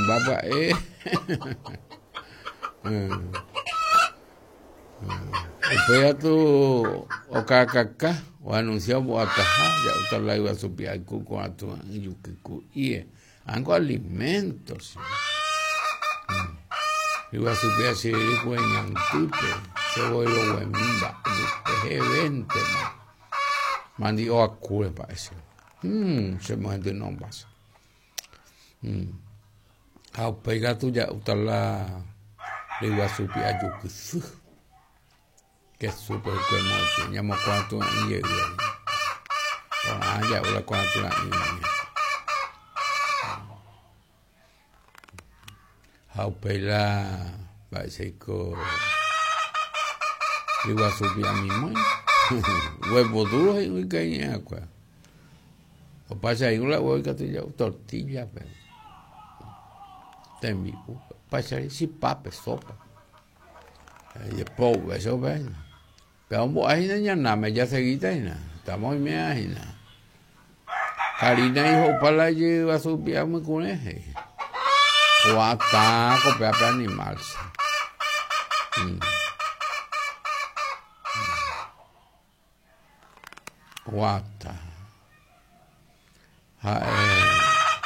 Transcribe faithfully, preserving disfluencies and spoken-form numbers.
Mbapa'e. Upéi katu okakaka oanuncia ombo'ataha ja'úta la yguasu pi'ayku ko'ã tua'ỹ juky ku'ie ángo alimento yguasu pi'a chyryry kueñandýpe chevoiroguemi mba'e hevéntema mandi'o akúre mba'e chéve chemohendynomba che ha upéi katu ja'úta la ryguasu pi'a jukysy kesúpe hikuái ñamokuãtu'ỹ jey porã ja'u la kuãtu'ỹ ha upéi la mba'éichaiko ryguasu pi'a mimói huevo duro he'i ikañe'ãkue opaicha'i la huevo ikatu ja'u tortilla-pe tembi'u opaichai chipápe sopa jepouve chupe pe ombo'ehína ñanáme jaseguíta hína estamos oime'ãhína Karina iho'upa la ijyguasu pi'a mykurẽ he'i oatã ko péape animal oatã ha'e.